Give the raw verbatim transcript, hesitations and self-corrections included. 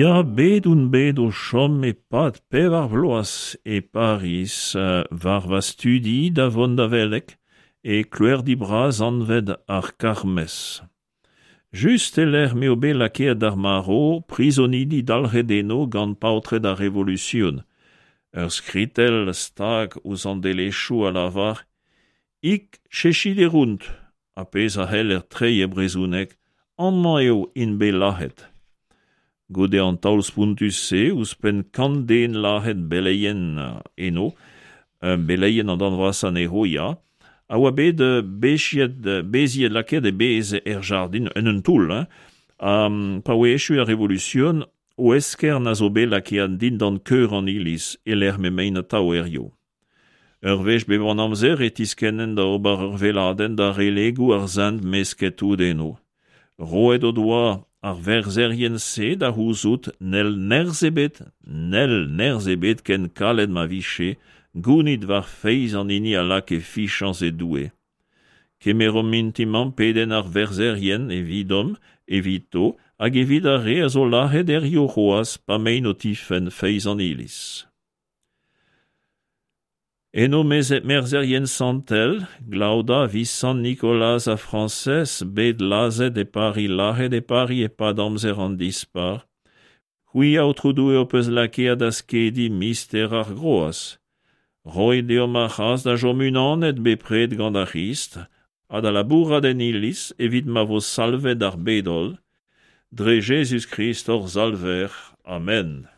Ya, bet on bet o chom e-pad pevar vloaz e Pariz war va studi da vont da veleg e kloerdi bras anvet ar Carmes. Just e-lec'h m'eo bet lakaet d'ar marv prizonidi dalc'het eno gant paotred ar Revolusion. Ur skritell stag ouzh an delezioù a lavar Hic ceciderunt, ar pezh a c'heller treiñ e brezhoneg Amañ eo int bet lazhet. Goude an taol spontus-se ouzhpenn kant den lazhet beleien eno, beleien an darn vrasañ anezho ya, a oa bet beziet beziet lakaet e bez er jardin en un toull hein. Ha pa oa echu ar Revolusion o eskern a zo bet lakaet dindan keur an iliz e-lec'h m'emaint atav hiziv. Ur wech bep an amzer e tiskennen da ober ur weladenn da relegoù ar sent mesket tout eno. Roet o doa ar verzherien-se da c'houzout n'hell nerzh ebet, n'hell nerzh ebet ken kalet ma vije, gounit war feiz an hini a lak e fiziañs e Doue. Kemeromp mintin-mañ pedenn ar verzherien evidomp, evito hag evit ar re a zo lazhet hiziv c'hoazh pa 'maint o tifenn feiz an Iliz. Eno merzherien santel, Glaoda, Visant, Nikolaz ha Frañsez bet lazhet e Pariz lazhet e Pariz e-pad amzer an Dispac'h. C'hwi, Aotrou Doue, ho peus lakaet da skediñ mister ar groaz. Roit deomp ar c'hras da chom unanet bepred gant ar C'hrist ha da labourat en iliz evit ma vo salvet ar bed-holl. Dre Jezuz-Krist hor Salver. Amen.